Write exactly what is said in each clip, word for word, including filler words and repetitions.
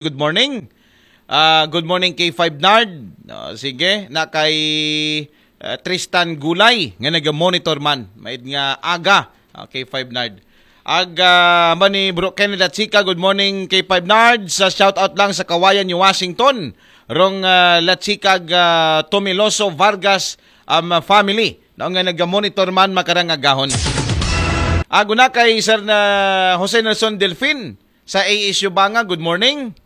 Good morning. Ah, good morning, K five Nard. Ah, sige, na kay, ah, Tristan Gulay, nga nag-monitor man. Maid nga aga, ah, K five Nard. Ag, ah, ba ni Bro Ken Latsika, good morning, K five Nard. Sa shout out lang sa Kawayan, New Washington. Rong, ah, Latsika, ah, Tomiloso Vargas, um, family. No, nga nag-monitor man makarang agahon. Ag una kay Sir na Jose Nelson Delfin sa A S U Banga, good morning.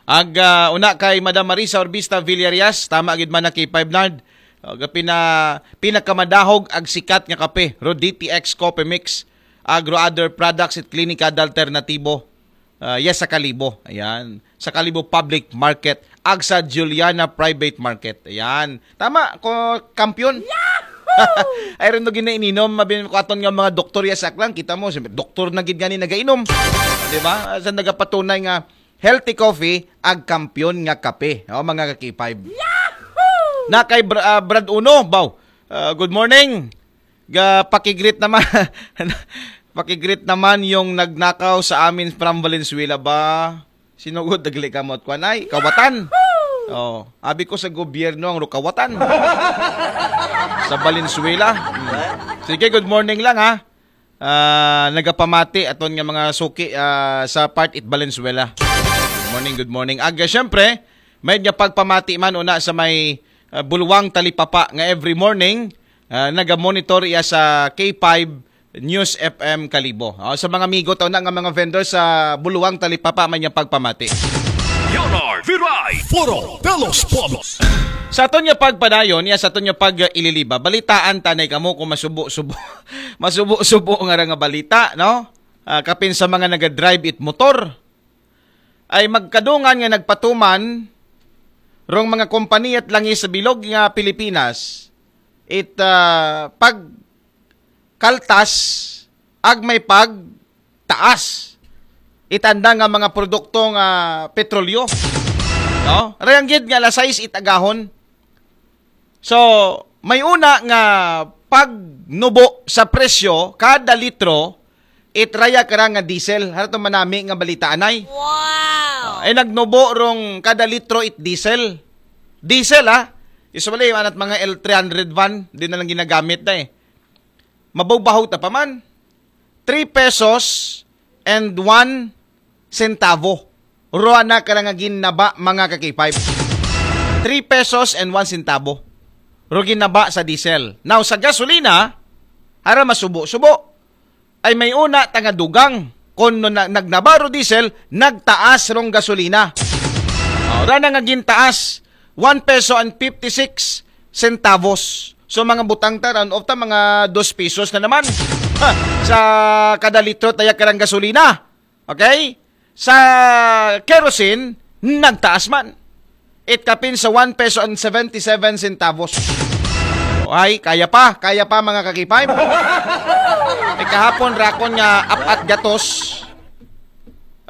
Ag, ah, una kay Madam Marisa Orbista Villarias, tama gid man na kay five Nard. Ag pina, pinakamadahog ag sikat nga kape, ro D T X Coffee Mix. Ag ro other products it Klinika Alternatibo. Ah, yes, sa Kalibo. Ayan. Sa Kalibo Public Market. Ag sa Juliana Private Market. Ayan. Tama, ko kampiyon. Ay rin no ginaininom, mabin ko aton nga mga doktor ya sa Aklan, kita mo, siyempre, doktor na gid gani nagainom. Di ba? Sa nagapatunay nga healthy coffee, ag kampiyon nga kape. O, mga ka-K five. Na kay Br- ah, Brad Uno, baw. Ah, good morning. Ga pakigreet naman. Pakigreet naman yung nagnakaw sa amin from Valenzuela ba? Sinugod, nagli kamot kwan ay, kawatan. Oh, abi ko sa gobyerno ang rukawatan. Sa Valenzuela. Hmm. Sige, good morning lang ha. Ah, nagapamati aton nga mga suki, ah, sa part it Valenzuela. Good morning, good morning. Aga, syempre, may nga pagpamati man una sa may, ah, Buluwang Talipapa nga every morning, ah, naga-monitor iya sa K five News F M Kalibo. Oh, sa mga amigo taon na nga mga vendor sa Buluwang Talipapa, may nga pagpamati. Leonard Viray, Foro de los Pueblos. Sa aton nga pagpadayon, ya sa aton nga pag-ililiba, balitaan tanay kamo kung masubo-subo, masubo-subo nga ra nga balita, no? Ah, kapin sa mga naga-drive it motor, ay magkadungan nga nagpatuman rong mga kompanya at langis sa bilog nga Pilipinas, it, ah, pag kaltas, ag may pag taas. Itanda nga mga produkto nga petrolyo. No? Rayang gid nga alas sais it agahon. So, may una nga pagnubo sa presyo kada litro, it raya kara nga diesel. Harato manami nga balita anay. Wow! Ay nagnubo rong kada litro it diesel. Diesel ha. Usually, anat mga L three hundred van, di na lang ginagamit na eh. Mabawbahaw ta pa man. Three pesos and one centavo. Ro ana kara nga ginaba, mga ka-K five. Three pesos and one centavo. Ro ginaba sa diesel. Now, sa gasolina, ara masubo-subo. Ay may una ta nga dugang. Kon no na, nagnaba ro diesel, nagtaas rong gasolina. Ora na nga gintaas, one peso and fifty-six centavos. So, mga butang ta, round off ta, mga dos pesos na naman. Ha, sa kada litro taya karang gasolina. Okay? Sa kerosene, nagtaas man. It kapin sa one peso and seventy-seven centavos. Ay, kaya pa, kaya pa, mga ka-K five. Eh, kahapon, rakon nga apat gatos,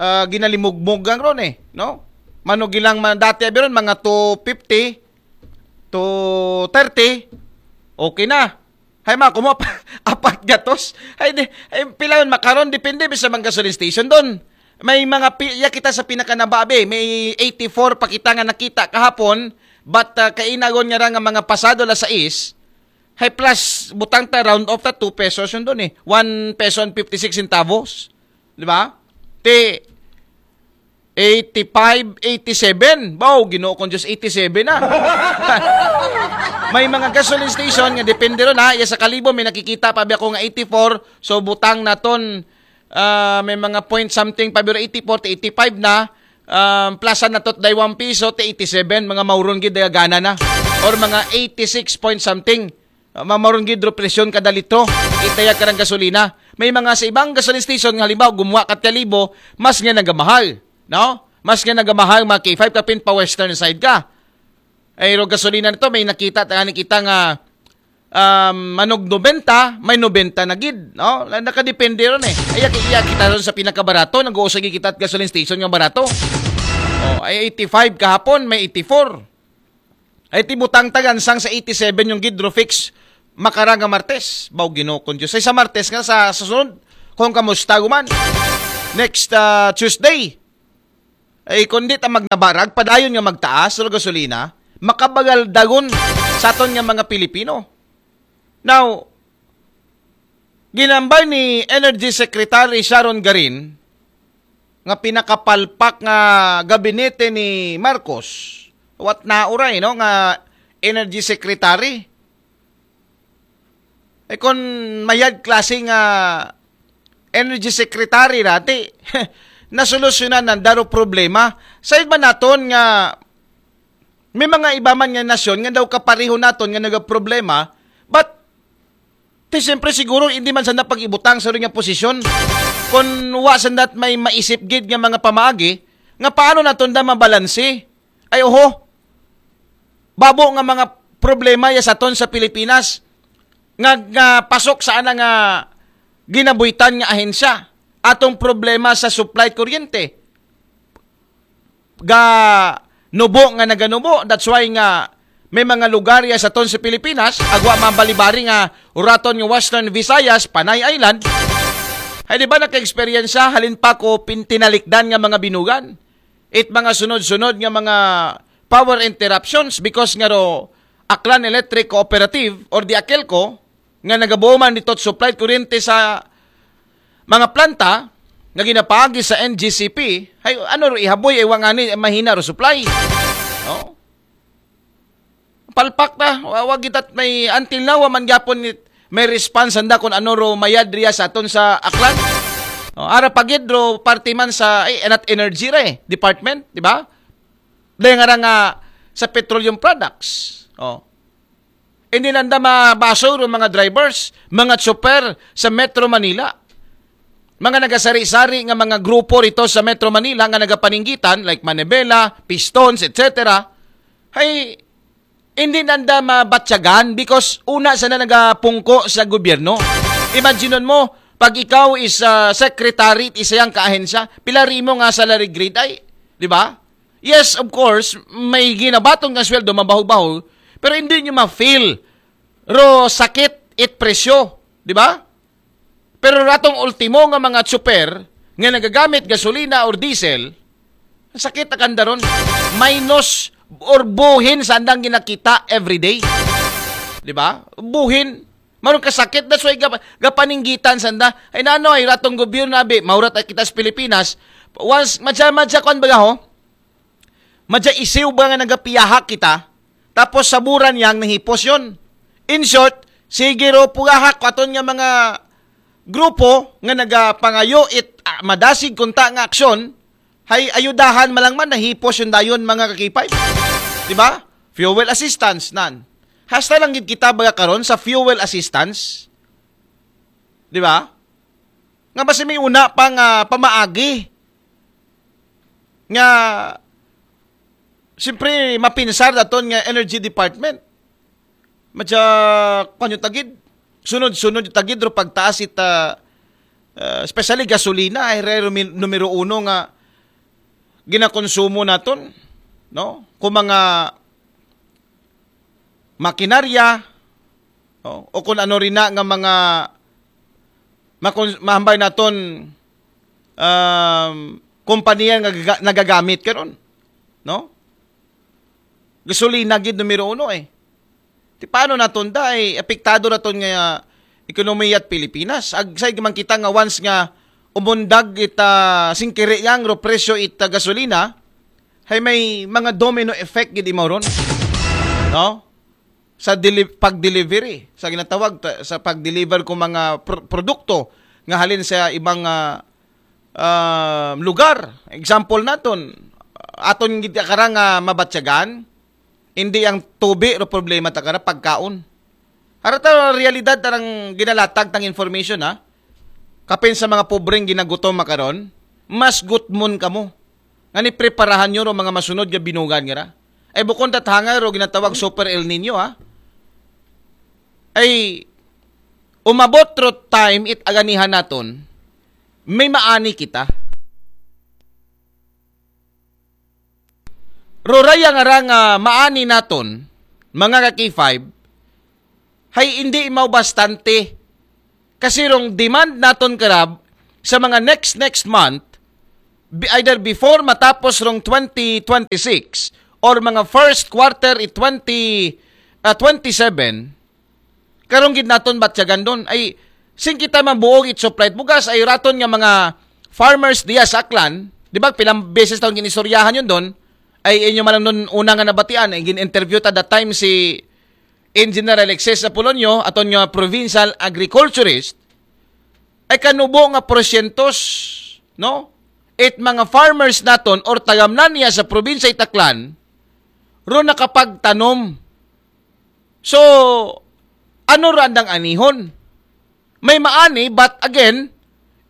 ah, ginalimugmog ang ron eh, no? Manugilang man, dati abi ron, mga two fifty, two thirty, okay na. Hay, mga kumo, apat gatos. Ay, di, ay, pila yun, makaron, depende, bisa mga gasoline station doon. May mga, pi- ya kita sa pinakanababi, may eighty-four pa kita nga nakita kahapon, but ah, kainagon nga ra nga mga pasado alas sais, hay plus, butang ta, round off ta, two pesos yun doon eh. One peso and fifty-six centavos. Di ba? Ti, eighty-five, eighty-seven. Baw, Ginoo kong Diyos, eighty-seven na. May mga gasoline station nga depende ron ha. Iya sa Kalibo, may nakikita pa biya ko nga eighty-four. So, butang naton, ah, may mga point something pa, pero eighty-four to eighty-five na. Um, plasan natot day one piso, ti eighty-seven, mga mauron gid, gana na. Or mga eighty-six point something. Ah, mamaron gid ro presyon kada litro. Itaya karang gasolina. May mga sa ibang gasoline station nga halimbawa gumuha ka Kalibo, mas nga nagamahal, no? Mas nga nagamahal, mga K five, kapin pa western side ka. Ay ro gasolina nito, may nakita ta ni kita nga um, manog nobenta, may nobenta na gid, no? La- Nakadepende ron eh. Ay iya kita ron sa pinakabarato, nag-uusay kita at gasoline station nga barato. Oh, ay eighty-five kahapon, may eighty-four. Ay ti butang ta gansang sa eighty-seven yung gid ro fix makara nga Martes. Baw Ginoo kong Diyos. Ay sa Martes nga sa susunod, kung kamusta guman. Next ah, Tuesday. Ay, kundi ta magnabarag, padayon nga magtaas sa gasolina, makabagal dagon sa aton nga mga Pilipino. Now, ginambay ni Energy Secretary Sharon Garin nga pinakapalpak nga gabinete ni Marcos, what na uray, no, nga Energy Secretary. Eh, kung mayad klase nga Energy Secretary dati, nasolusyonan ng daro problema. Sa iba naton nga may mga iba man nga nasyon nga daw kapareho naton nga nagaproblema, but ti siyempre siguro hindi man sana pag-ibutang sa nga posisyon. Kung wa sandat may maisip gid nga mga pamaagi, nga paano naton da mabalanse? Ay, oho, babo nga mga problema ya sa aton sa Pilipinas nga, nga pasok sa ana nga ginabuhitan nga ahensya. Atong problema sa supply kuryente, ga nubo nga naganubo. That's why nga may mga lugar ya sa aton sa Pilipinas, agwa man balibari nga uraton nga Western Visayas, Panay Island. Ay, di ba naka-eksperyensya, halin pa ko pin-, tinalikdan nga mga binugan. It mga sunod-sunod nga mga power interruptions because nga ro Aklan Electric Cooperative or the AKELCO, nga nagabuo man dito supply kuryente sa mga planta nga ginapaagi sa N G C P, ay ano ro ihaboy, ay wangani, mahina ro supply. No? Palpak na, wa-, wa gitat may, until now, wa man gyapon ni-, may response handa kung ano ro mayad riya sa aton sa Aklan. No? Ara pagid ro parte man sa, ay, not energy ra eh, department, di ba? Dahil nga ra nga sa petroleum products. Oh. Hindi nanda mabaso ro mga drivers, mga tsoper sa Metro Manila. Mga nagasari-sari nga mga grupo rito sa Metro Manila nga nagapaninggitan, like Manibela, Pistons, et cetera. Ay, hindi nanda mabatyagan because una sa na nagapungko sa gobyerno. Imagine mo, pag ikaw is ah, secretary, isa yang kaahensya, pila rimo nga salary grade ay, di ba? Yes, of course, may ginabaton nga sweldo, mabaho-baho, pero hindi nyo ma-feel ro sakit it presyo, di ba? Pero ratong ultimo nga mga tsuper nga nagagamit gasolina or diesel, sakit akandaron. Minus or buhin sa andang ginakita everyday. Di ba? Buhin. Marong kasakit, that's why gap-, gapaninggitan sanda. Ay nano, ay ratong gobyerno, abi, maurat ay kita sa Pilipinas. Once, madya-madya kwan baga ho, madya isiw ba nga nagapiyahak kita, tapos saburan yang nahipos yon. In short, sige ro pugahak ko aton nga mga grupo nga nagapangayo it ah, madasig kunta nga aksyon, hay ayudahan malang man nahipos yung dayon mga kakipay. Di ba? Fuel assistance nan. Hasta lang gid kita baga karon sa fuel assistance. Di ba? Nga basi may una pa nga pamaagi nga siyempre mapinsar daton nga energy department. Madya, kanyo tagid, sunod-sunod yung tagid ro pagtaas ita, ah, especially gasolina, ay re numero uno nga ginakonsumo naton, no? Kung mga makinarya, no? O kung ano rin na nga mga makon-, mahambay naton um, kompanya nga gaga- nagagamit karon, no? Gasolina gid numero uno eh. Ti paano naton da ay apektado naton nga ekonomiya at Pilipinas? Ag say man kita nga once nga umundag ita singkiri yang ro presyo ita gasolina, hay may mga domino effect gid imaw ron. No? Sa deli- pag-delivery, sa ginatawag ta- sa pag-deliver ko mga pr- produkto nga halin sa ibang ah, ah, lugar. Example naton, aton gid kara nga mabatyagan, hindi ang tubi ro problema ta kara, pagkaon. Harata realidad tarang ginalatag tang information ha. Kapin sa mga pobreng ginagutom makaron, mas gutmon kamo. Nga ni preparahan nyo ro mga masunod nga binugan nga ra. Ay bukon tathangay ro ginatawag super El Nino ha. Ay umabot ro time it aganihan naton, may maani kita. Roraya nga ra nga maani naton, mga ka K five, hay hindi mao bastante. Kasi rong demand naton karab sa mga next next month, bi- either before matapos rong twenty twenty-six or mga first quarter i twenty, ah, twenty-seven, karong gid naton batyagan doon. Ay, sing kita mabuog it supply bugas, ay raton nga mga farmers diya sa Aklan, di ba, pilang beses taon ginistoryahan yun doon, ay inyo man lang nun una nga nabatian, ay gin-interview ta that time si Engineer Alexis Apolonio, aton nga provincial agriculturist, ay kanubo nga porsyento, no? It mga farmers naton or tagamnan niya sa probinsya Itaklan, ro nakapagtanom. So, ano ra andang anihon? May maani, but again,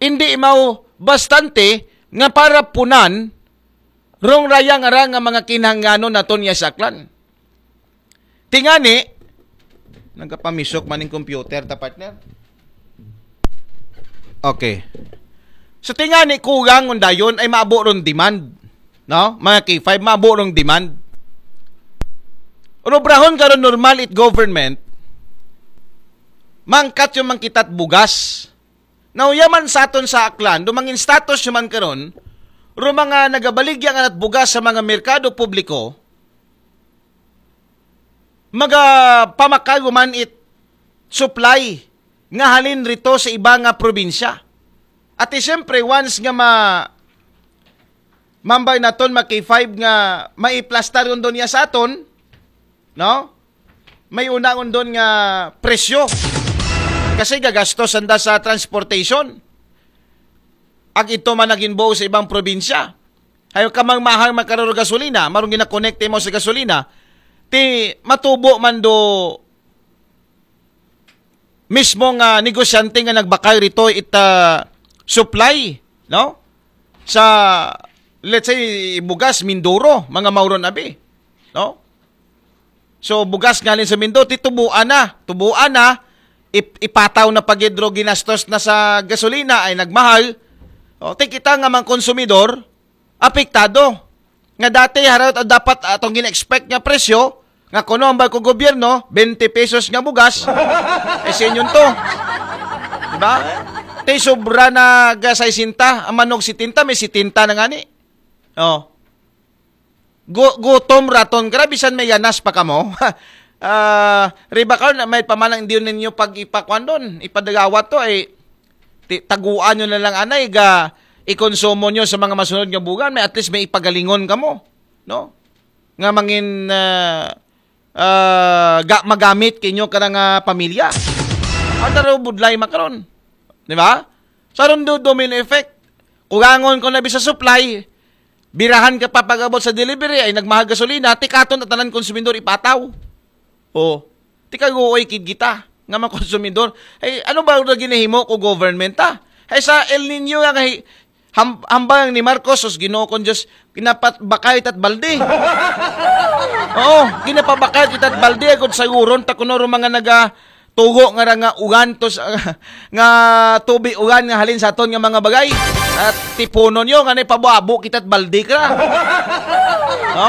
hindi mao bastante nga para punan rong raya nga ra nga mga kinahanglanon naton niya sa Aklan. Tingani, nagkapamisok man ning computer ta, partner. Okay. So tingani, kugang undayon ay maabo ron demand, no? Mga K five, maabo rong demand. Robrahon karon normal it government, mangkat yung mangkitat bugas. Now, yaman sa aton sa Aklan, dumangin status yung man karon, ro mga nagabaligya nga nat bugas sa mga merkado publiko, magapamakago man it supply nga halin rito sa iba nga probinsya. At eh, siyempre, once nga ma mambay naton ma K five nga maiplastar yun doon niya sa aton, no? May una yun doon nga presyo. Kasi gagasto sanda sa transportation. Ag ito man naging buo sa ibang probinsya. Ayaw ka mang mahal magkararo gasolina, marong ginakonekte mo sa gasolina, ti matubo man do mismo nga negosyante nga nagbakal rito it, ah, supply, no? Sa, let's say, bugas, Mindoro, mga mauron abi, no? So, bugas galing sa Mindoro, ti tubuan na, tubuan na, ip- ipataw na pagidro ginastos na sa gasolina ay nagmahal. O, ti kita nga mga konsumidor, apektado. Nga dati, haraw dapat atong gina-expect nga presyo, nga kuno ang bangko gobyerno, twenty pesos nga bugas, eh, sa inyo to. Diba? Tay sobra na ga sesenta, ang manog setenta, may setenta na nga ni. Oh. Gu- gutom raton, grabe san may yanas pa kamo. Ah, riba karon na may pamanang hindi ninyo pag ipakuan doon, ipadagawat to, ay ti- taguan nyo na lang anay, ga ikonsumo nyo sa mga masunod nga bugan, may at least may ipagalingon kamo, no? Nga mangin, ah, ah, ga, magamit kinyo ka nga pamilya. Ang taro budlay makaron. Di ba? Sa ron do domino effect. Kugangon ko na bisa supply, birahan ka pa pag-abot sa delivery, ay nagmahal gasolina, tikaton at tanan konsumidor ipataw. O, tikaguoy kid kita nga mga konsumidor. Ay, ano ba na ginahimo ko government, ha? Ay, sa El Nino nga kay ham, hambang ni Marcos, sus Ginoo kong Diyos, ginapabakay tat balde. Oo, ginapabakay tat balde, agud sayuron ta kuno ro mga naga tugo nga ra nga ugan to sa, nga tubi ugan nga halin sa aton nga mga bagay. At tipunon nyo nga naipabuabo kita't balde ka. No?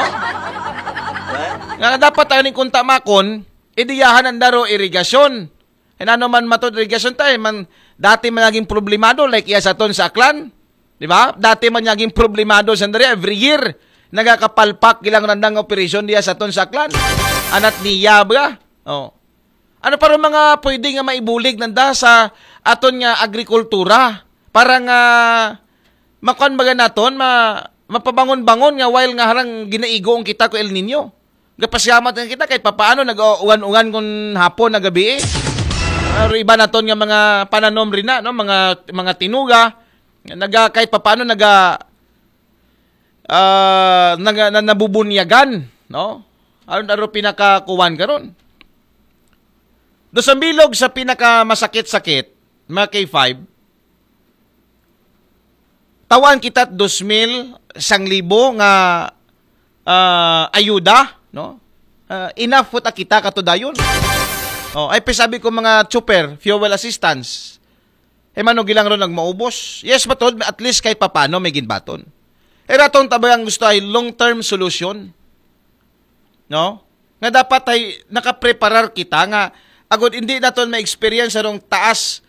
Nga dapat ang kunta makon, idiyahan ang daro irigasyon. E nano man matod irigasyon tayo, man, dati man naging problemado, like iya sa aton sa Aklan. Di ba? Dati man naging problemado sa diri, every year, nagakapalpak ilang randang operasyon diya sa aton sa Aklan. Anat niya ba? Oh. Ano pa rin mga pwede nga maibulig nanda sa aton nga agrikultura para nga makuan baga naton, ma, mapabangon-bangon nga while nga harang ginaigo ang kita ko El Nino. Gapasyamat nga kita kahit papaano nag-uwan-uwan kung hapon na gabi eh. Pero iba naton nga mga pananom rin na, no? Mga, mga tinuga, naga, kahit papaano naga, ah, naga, na, nabubunyagan, no? Aron aro pinakakuwan karon. Do sa bilog sa pinakamasakit-sakit, mga K five, tawaan kita dos mil, sang libo nga, ah, ayuda, no? Ah, enough po ta kita katudayon. Oh, ay pisabi ko mga chopper, fuel assistance. E mano gilang ron nagmaubos. Yes, matod, at least kahit papano may ginbaton. E ratong tabayang gusto ay long-term solution. No? Nga dapat ay nakapreparar kita nga agud hindi naton ma-experience arong taas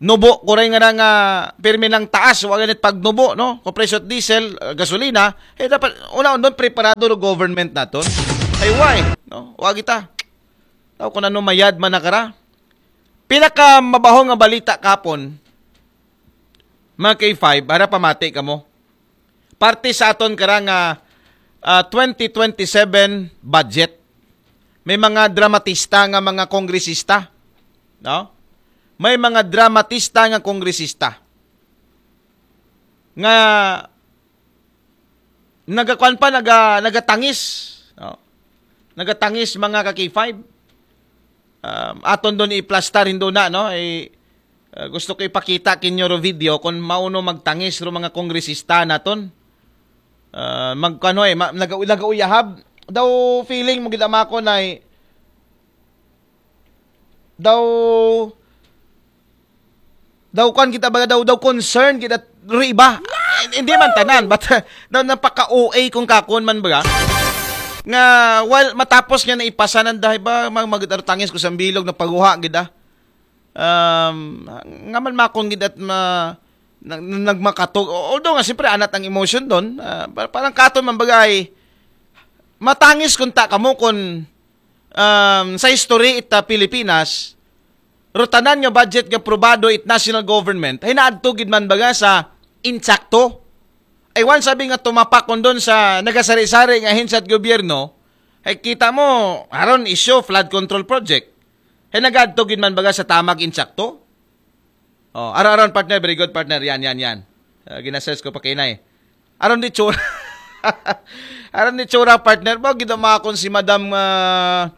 nubo, kuray nga na nga pirmi lang taas, wa ganit pagnubo, no? Kung presyo at diesel, uh, gasolina, eh, dapat, una, doon, preparado ro government naton. Ay, why? No? Wa kita. Tao kung ano mayad man nakara. Pinaka mabaho nga balita kapon, mga K five, ara pamati kamo. Parte sa aton kara nga, ah, twenty twenty-seven budget. May mga dramatista nga mga kongresista, no? May mga dramatista nga kongresista nga nagakuan pa, naga, nagatangis, no? Nagatangis, mga ka K five. Um, aton doon iplastar, hindo na, no? Eh, uh, gusto ko ipakita kinyo ro video kung mauno magtangis ro mga kongresista naton. Uh, magkano eh, ma, naga, nagauyahab. Daw feeling mo gid ama ko na eh, daw daw kwan kita baga, daw, daw concern kita ro iba. Eh, hindi man tanan, but uh, daw napaka-O A kung kakon man baga. Nga, well, matapos nga naipasanan dahil ba, mag, mag, tangis ko sa bilog, napaguha gid ah. Um, nga man makon gid at ma, nag, nagmakatog. Although nga, siyempre, anat ang emotion doon. Ah, pa, parang katon man bagay, matangis kung ta kamo kung, um, sa history ita Pilipinas, ro tanan nga budget nga aprobado it national government, hinaadto gid man baga sa insakto. Ay, wan sabi nga tumapak kon doon sa nagasari-sari nga ahensya at gobyerno, ay kita mo, aron issue flood control project. Ay, nagadto gid man baga sa tamag insakto. Oh, aron, aron, partner, very good, partner. Yan, yan, yan. Uh, ginasearch ko pa kainay. Aron di tsura. Aron di tsura, partner. Ba, gid makon si Madam, ah,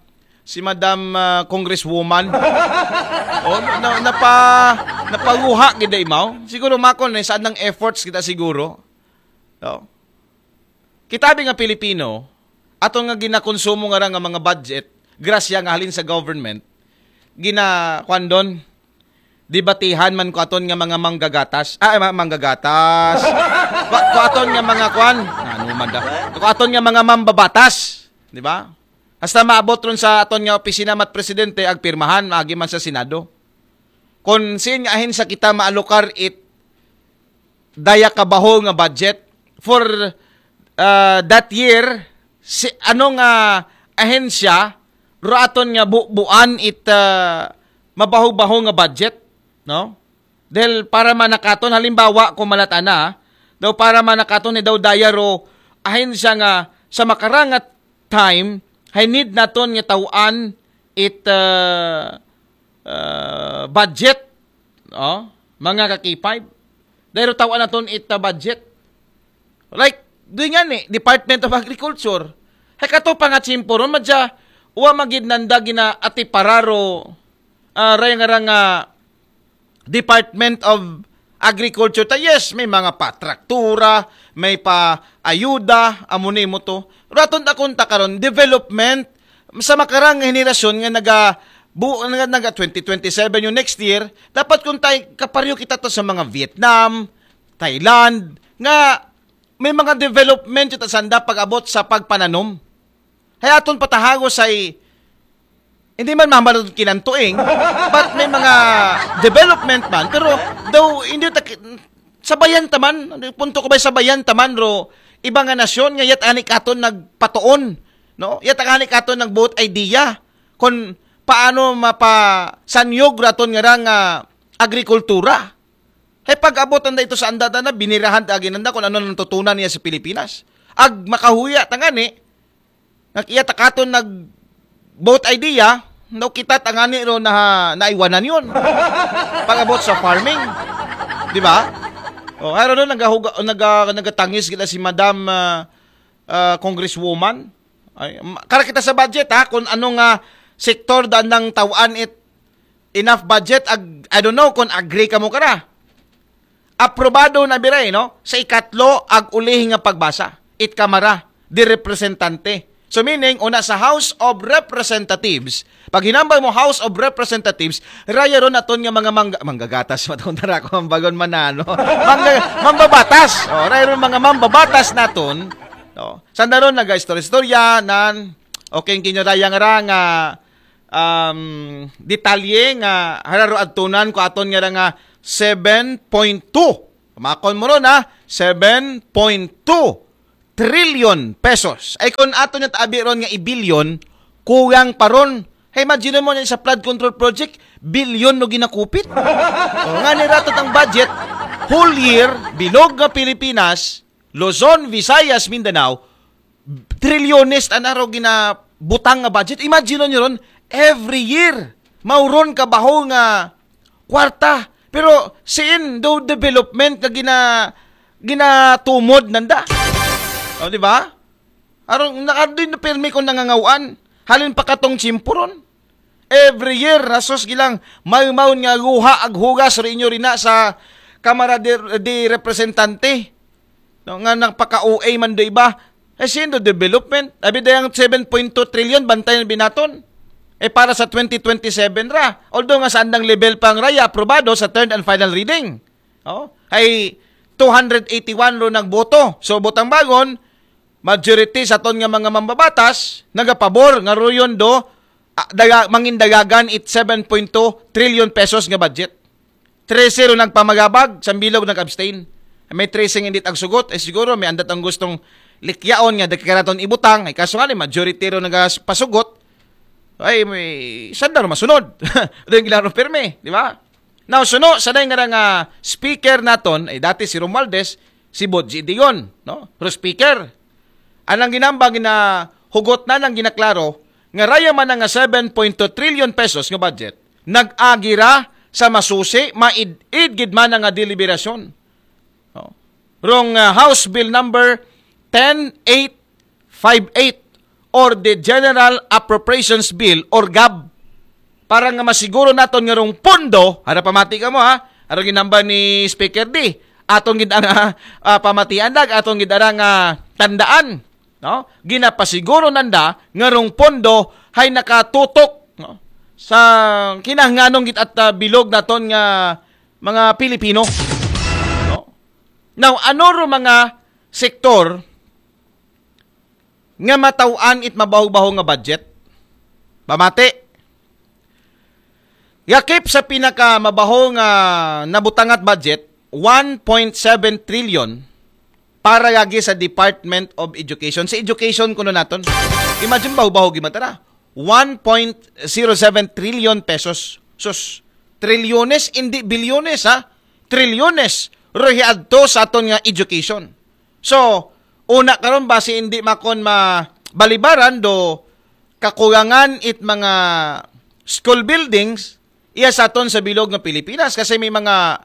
si Madam, ah, Congresswoman. Oh, na, napa, napaguha gid ay mao. Siguro makon eh, saan ng efforts kita siguro. No? Kita bi nga Pilipino, ato nga ginakonsumo nga ra nga mga budget, grasya nga halin sa government, gina, kwan doon, debatihan man ko aton nga mga manggagatas. Ah, ma, manggagatas. Ko, ko aton nga mga kwan. Ano man da? Ko aton nga mga mambabatas. Di ba? Hasta maabot ron sa aton nga opisina mat presidente, agpirmahan, maagi man sa Senado. Kung sin nga ahensya kita maalokar it daya kabaho nga budget for, uh, that year, si, ano nga ahensya, ro aton nga bu-, buan it, uh, mabaho-baho nga budget, no? Dahil para manakaton, halimbawa, kung malatana, daw para manakaton ni daw daya ro ahensya nga sa makarangat time, hay need naton nga tawaan it, uh, uh, budget, oh, mga ka K five. Dahil tawaan naton it, uh, budget. Like, doon nga ni, Department of Agriculture. Hay kato pa nga tsimpo ron, madya, wa magid nanda gina ati pararo, ah, raya nga ra nga Department of Agriculture. Ta, yes, may mga patraktura, may pa ayuda, amo ni mo to. Raton ta kung ta karon, development, sa makarang nga henerasyon nga naga, bu, nga naga twenty twenty-seven yung next year, dapat kung tay, kaparyo kita to sa mga Vietnam, Thailand, nga may mga development yung sanda pag-abot sa pagpananom. Hay aton patahago say, hindi man mamalod kinantuing, but may mga development man, pero daw hindi ta, sabayan taman, punto ko ba sabayan taman ro, iba nga nasyon nga yat ani katon nagpatuon, no? Yat ani katon nagbuot idea kung paano mapasanyog raton nga ra nga agrikultura. Hay pag-abot anda ito sa anda na binirahan ta agi nanda kung ano nang tutunan niya sa Pilipinas. Ag makahuya ta ngani, nga iya ta katon nag both idea, no, kita ta ngani ro na naiwanan yun. Pag-abot sa farming. Di ba? O, hay ron nagahuga, naga, nagatangis kita si Madam, ah, ah, Congresswoman. Ay, ma, kara kita sa budget, ha, kung ano nga sektor daan nang tawaan it enough budget, ag, I don't know kung agree ka mo kara. Aprobado na biray, no? Sa ikatlo, ag uli nga pagbasa. It Kamara, di representante. So meaning, una sa House of Representatives, pag hinambal mo House of Representatives, raya ron naton nga mga mangga, manggagatas, matundara ko ang bagon manano. Mangga, mambabatas. O, raya ron mga mambabatas naton. No? Sanda ron, naga-istorya-istorya, nan, okay, kinyo raya nga ra nga um, detalye nga hararo adtunan ko aton nga ra nga seven point two. Pamakon mo ron, ha? Seven point two trillion pesos. Ay, kung ato niya taabi ron nga i-billion, kulang pa ron. Hey, imagine mo niya sa flood control project, billion no ginakupit. O, nga ni ratot ang budget, whole year, bilog nga Pilipinas, Luzon, Visayas, Mindanao, trilyones ta na ro ginabutang nga budget. Imagine nyo ron, every year, mauron ka baho nga kwarta. Pero siin do development nga gina ginatumod nanda. O, di ba? Aron nakadin na pirmi kung nangangawan. Halin pa katong chimpuron. Every year, rasos gilang, may maun nga guha ag hugas rin inyo rin na sa Kamara de, de Representante. No, nga nagpaka-O A man do iba. Eh, siendo development? Abi dayang seven point two trillion, bantay na binaton. Eh, para sa twenty twenty-seven ra. Although nga sa andang level pang raya, aprobado sa third and final reading. Oh, ay two hundred eighty-one ro nagboto. So, butang bagon, majority sa ton nga mga mambabatas, nagapabor nga ruyon do, ah, daga, mangindagagan it seven point two trillion pesos nga budget. Trese ro nagpamagabag, sambilog nag-abstain. May trese nga hindi tagsugot, eh siguro may andat ang gustong likyaon nga dagkaraton ibutang, ay kaso nga ni majority ro nagpasugot, ay may sandar masunod. Ito yung gilaro pirme, di ba? Now, suno, sa day nga nga speaker naton, ay dati si Romualdez, si Bodji Dion, no? Pero speaker, anang ginambang na hugot na nang ginaklaro, nga raya man nga seven point two trillion pesos nga budget, nag-agi ra sa masusi, maid-id gid man nga deliberasyon. No? Rong ah, House Bill number ten eight five eight or the General Appropriations Bill or gab, para nga masiguro naton nga rong pondo, hara pamati ka mo ha, arong ginamba ni Speaker D, atong gid nga ah, pamatian dag, atong gid nga tandaan, no? Ginapasiguro nanda nga rong pondo hay nakatutok, no? Sa kinahanglanong gid at ah, bilog naton nga mga Pilipino. No? Now, ano ro mga sektor nga mataw-an it mabaho-baho nga budget? Pamati. Yakip sa pinaka mabaho nga nabutangat budget, one point seven trillion para lagi sa Department of Education. Sa education kuno naton. Imagine baho-baho gimatara. one point zero seven trillion pesos. Sus, trilyones, hindi bilyones ha. Trilyones. Rohi adto sa aton nga education. So, una karon basi hindi makon mabalibaran do kakulangan it mga school buildings iya sa aton sa bilog nga Pilipinas kasi may mga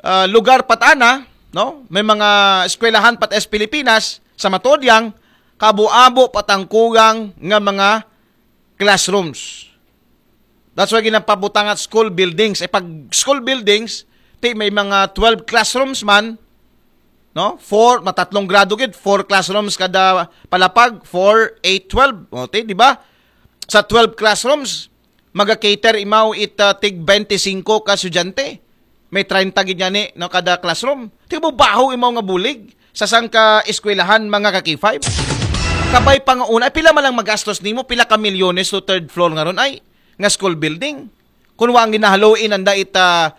ah, lugar pat ana, no? May mga eskwelahan pat es Pilipinas sa matuod yang kabo-abo patang kulang nga mga classrooms. That's why ginapabutang at school buildings. Eh, pag school buildings, ti may mga twelve classrooms man, no? Four, matatlong grado gid, four classrooms kada palapag, four, eight, twelve. O, ti, di ba? Sa twelve classrooms, maga-cater imaw it ah, tig twenty-five ka estudyante. May treinta gid yan eh, no, kada classroom. Tigbo baho imaw nga bulig sa sangka eskwelahan mga ka K five. Kabay pa nga una, ay, pila man lang magastos nimo, pila ka milyones to third floor nga ron ay nga school building. Kung wa ang ginahaloin anda ita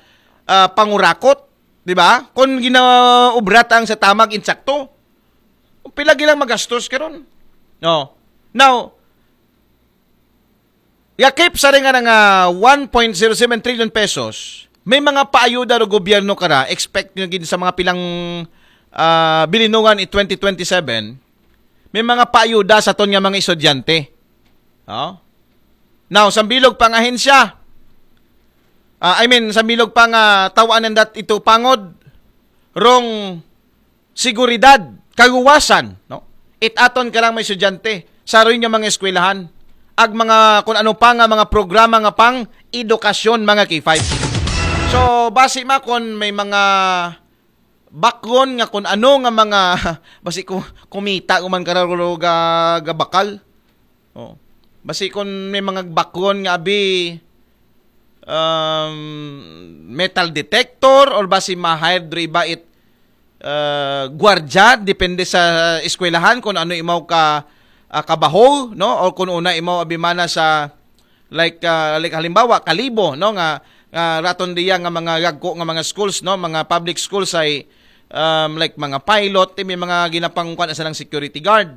ah, pangurakot, di ba? Kung ginaubra ta ang sa tamag insakto, pila gilang magastos karon. No. Now, yakip sa rin nga nga one point zero seven trillion pesos, may mga paayuda ro gobyerno kara, expect nyo gid sa mga pilang ah, bilinungan in twenty twenty-seven, may mga paayuda sa ton nga mga estudyante. Oh? Now, sambilog pang ahensya, ah, I mean, sambilog pang ah, tawaan that ito pangod, rong seguridad, kaluwasan, no? It aton ka lang may estudyante, sa rin nga mga eskwelahan, ag mga kung ano pa nga mga programa nga pang edukasyon mga K five. So, basi ma kon may mga bakgon nga kung ano nga mga basi ku, kumita kuman kararo ga, ga bakal. Oh. Basi kung may mga bakgon nga abi um, metal detector or basi ma-hire diri ba it uh, gwardya depende sa eskwelahan kung ano imaw ka uh, kabaho, no, or kung una imaw abimana sa like uh, like halimbawa kalibo, no, nga Ah, raton diya nga mga gagko nga mga schools, no, mga public schools ay, um, like mga pilot, may mga ginapangukan sa ng security guard,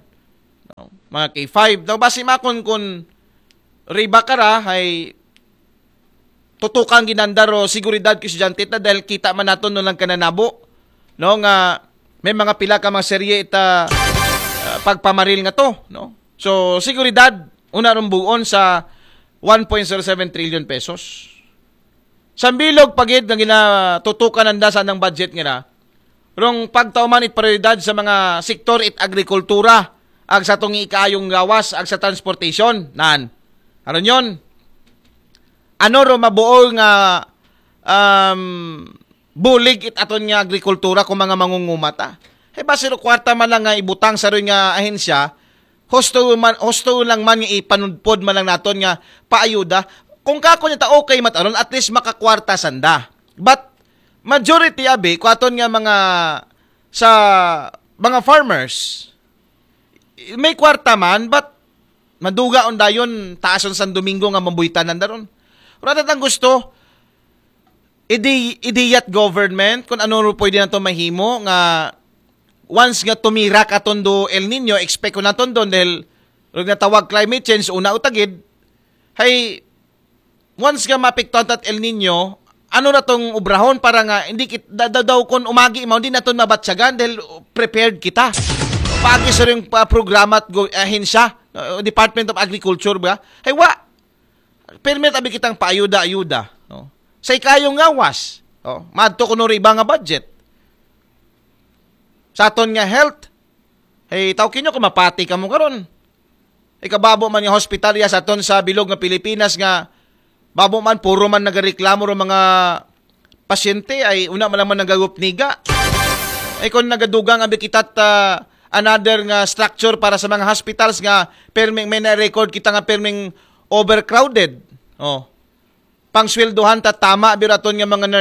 no? Mga K five. Daw basi makon kun riba ka ra, ay tutukan ginandar o seguridad ko estudyante ta dahil kita man naton no lang kananabo, no, nga may mga pila ka mga serye ita, ah, pagpamaril nga to, no? So, seguridad, una rong buon sa one point zero seven trillion pesos. Sambilog pagid nga ginatutukan nanda sa nang budget ngira, rong pagtauman it prioridad sa mga sektor it agrikultura, ag sa tungi ikaayong gawas, ag sa transportation, nan. Aron yon, ano ro mabuol nga, um, bulig it aton nga agrikultura kung mga mangunguma ta? Hey, basi ro kwarta man lang nga ibutang sa ron nga ahensya, husto man, husto lang man nga ipanudpod man lang naton nga paayuda. Kung kako niya ta okay mat aron, at least makakwarta sanda. But majority abi, kuaton nga mga, sa mga farmers, may kwarta man, but maduga on dayon, taason San Domingo nga mabuytanan daron. Wala ang gusto, idi, idiyat government, kung ano ro pwede na to mahimo, nga once nga tumira ka tondo El Nino, expect ko na tondo, dahil rog natawag climate change, una utagid, hay, once nga maapektuhan tat El Nino, ano na tong obrahon para nga hindi kit, da, da, daw kung umagi mo, hindi naton mabatyagan dahil prepared kita. Pagi sa rin pa programa at go, ahensya, uh, Department of Agriculture ba? Ay wa. Permit abi kitang paayuda-ayuda, no? Sa ikayong ngawas, oh, madto kuno ri iba nga budget. Sa aton nga health, hey, tawkin nyo kung mapati ka mo karon. Ikababo man nga hospital ya sa aton sa bilog nga Pilipinas nga babo man puro man nagareklamo ro mga pasyente ay una man naman nagagupniga. Ay kung nagadugang abi kita ta another nga structure para sa mga hospitals nga perming may na-record kita nga perming overcrowded. Oh. Pangsweldohan ta tama biraton nga mga